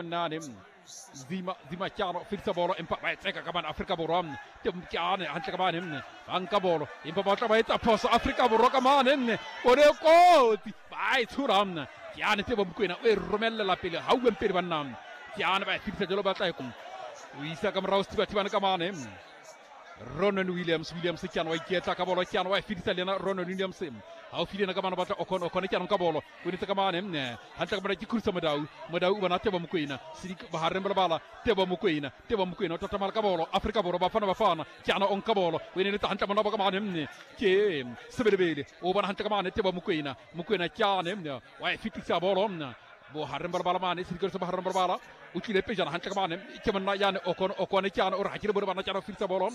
monnane Zima Zima Kyano fetisa bolo empa ba e tseka ka mane Afrika Borwa Kyane hantle ka mane ba nka bolo empa ba tla ba etsa phoso Afrika Borwa ka mane o ne kotsi ba e tshola Kyane Tebo Mokoena o e romellela pele ha uweng pele banna Kyane ba e fetisa jalo ba tla e o isa ka morao Sethibathibane ka mane Ronan Williams Williams Kyane wa iketla ka bolo Kyane wa e fetisa le yena Ronan Williams haufi le yena ka mane batla Okon Okon Kyane ka bolo o netse ka mane hantle ka mane ke Khurusa Modau Modau o bona Tebo Mokoena Sidik bohareng ba lebala Tebo Mokoena Tebo Mokoena o tatamala ka bolo Afrika Borwa Bafana Bafana Kyane o nka bolo o e neletsa hantle mona ba ka mane ke Sebelebele o bona hantle ka mane Tebo Mokoena Mokoena Kyane wa e fetisa bolo bohareng ba lebala mane sedikelo sa bohareng ba lebala o tlile pejana hantle ka mane ke monna yane Okon Okone Kyane o re ha ke le bone bana Kyane o fetisa bolo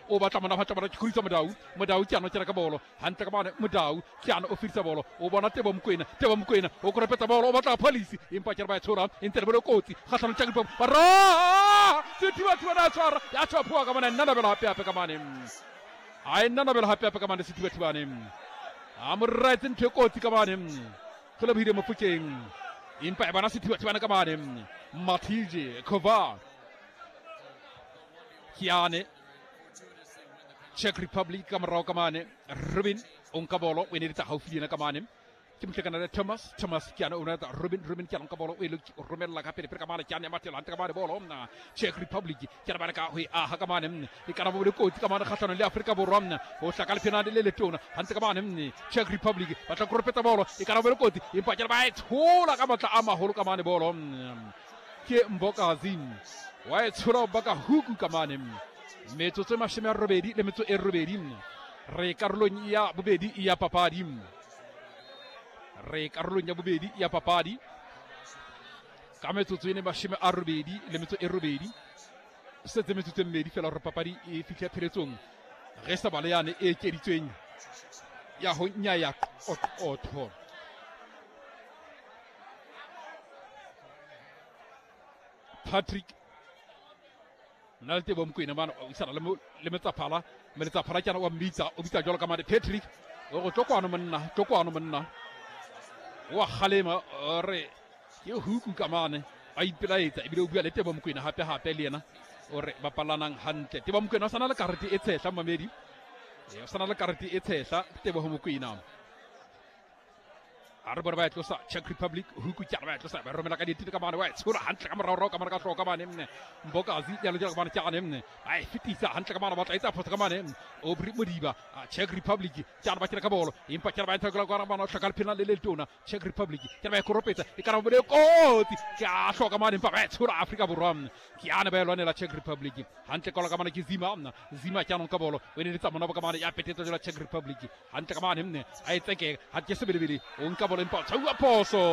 o batla monna batla bana ke Khurusa Modau Modau Kyane o kena ka bolo hantle ka mane Modau Kyane o fetisa bolo o bona Tebo Mokoena Tebo Mokoena o koropetsa bolo o batla police empa ke re ba e tshola e ntse le bole kotsi kgatlhanong Czech Republic ba ra Sethibathibane a tshwara ya tshwaphoa ka mane nna nabela hape hape ka mane a e nna nabela hape hape ka mane Sethibathibane a mo raetse ntho e kotsi ka mane go lebohile Mofokeng empa e bona Sethibathibane ka mane Mathije Kovar Kyane Czech Republic ka morao ka mane Rubin o nka bolo o e neletsa haufi le yena ka mane ke motlekana le Thomas Thomas Kyane o neletsa Rubin Rubin Kyane o nka bolo o e romella ka pele pele ka mane Kyane ya mathela hantle ka mane bolo Czech Republic Kyane ba leka ho e aha ka mane e kana bo le kotsi ka mane kgahlanong le Afrika Borwa ho hlaka lephenane le letona hantle ka mane Czech Republic ba tla koropetsa bolo e kana bo le kotsi empa Kyane ba e tshola ka matla a maholo ka mane bolo ke Mbokazi wa e tshola ba ka huku ka mane metsotso e 88 re karolong ya bobedi ya papadi re karolong ya bobedi ya papadi ka metsotso e ne 88 setse metsotso e mmedi fela gore papadi e fitlhe pheletsong ge sa bale yane e ekeditsweng ya ho nyaya qoqotho Patrick nna le Tebo Mokoena mane o isana le Metsaphala Meletsaphala ke wa mmitsa o bitsa jalo ka mane Patrick o go tlo kwano monna tlo kwano monna wa kgalema re ke huku ka mane a ipelaetsa ebile o bua le Tebo Mokoena hape hape le yena o re bapalanang hantle Tebo Mokoena o sana le karete e tshehla mamedi o sana le karete e tshehla Tebo Mokoena a re bone ba e tlosa Czech Republic huku ke ba e tlosa ba romela ka ditile ka mane wa e tshola hantle ka morao ka mane ka hloka mane mne Mbokazi ya lokela ka mane ke mne ba e fetisa hantle ka mane ba tla etsa phoso ka mane Aubrey Modiba Czech Republic ke ba kena ka bolo empa ke ba entha ka ka mane hlaka lephena le le letona Czech Republic ke ba e koropetsa e kana bole kotsi ke a hloka mane empa ba e tshola Afrika Borwa ke ane ba e lwanela Czech Republic hantle ka ka mane ke Zima Zima ke anong ka bolo o ne le tsa mona ka mane ya petetsa jela Czech Republic hantle ka mane mne a e tseke ha ke Sebelebele o nka bolo empa o tshauwa phoso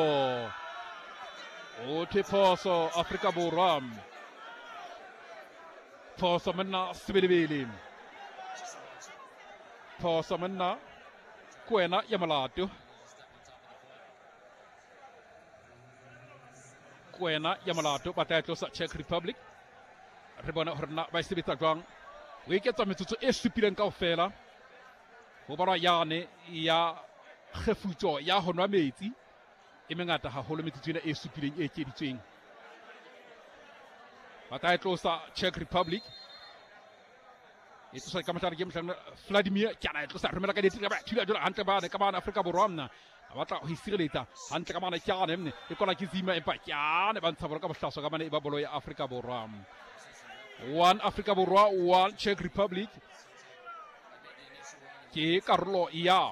o thwe phoso Afrika Borwa phoso monna Sebelebele phoso monna ke wena ya molato ke wena ya molato ba tla e tlosa Czech Republic re bone gore na ba e sebetsa jwang o eketsa metsotso e supileng kaofela ho balwa yane ya kgefutso ya ho nwa metsi e mengata haholo metsotso ena e supileng e ekeditsweng ba tla e tlosa Czech Republic e tlosa ka mohlare ke mohlare Vladimir ke ana e tlosa romela ka ditira ba thula jalo hantle bane ka bana Afrika Borwa mna a batla ho isireletsa hantle ka mane ke ane mne e kola ke Zima empa ke ane ba ntsha bolo ka bohlaswa ka mane e ba bolo ya Afrika Borwa 1 Afrika Borwa 1 Czech Republic ke karolo ya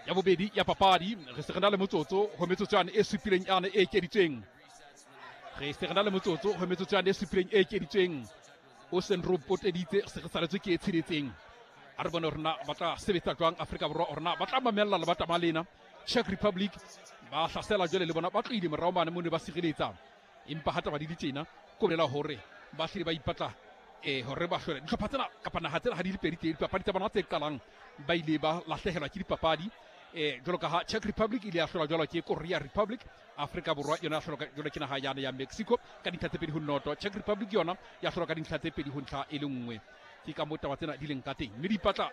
ya bobedi ya papadi re se re na le motsotso ho metsotso yane e supileng yane e ekeditsweng re se re na le motsotso ho metsotso yane e supileng e ekeditsweng o seng re o poteditse se re saletswe ke e tsheletseng a re bone gore na ba tla sebetsa jwang Afrika Borwa gore na ba tla mamella le batama lena Czech Republic ba hlasela jwale le bona ba tlohile morao mane mo ne ba sireletsa empa ha taba di le tjena ko bolela hore ba hlile ba ipatla hore ba hlole dihlopha tsena kapa naha tsena ha di le pedi tse dipapadi tsa bona tse qalang ba ile ba lahlehelwa ke dipapadi jwalo ka ha Czech Republic ile ya hlolwa jwalo ke Korea Republic Afrika Borwa yona ya hlolwa jwalo ke naha yane ya Mexico ka dintlha tse 2-0 Czech Republic yona ya hlolwa ka dintlha tse 2-1 ke ka moo taba tsena di leng ka teng mme di ipatla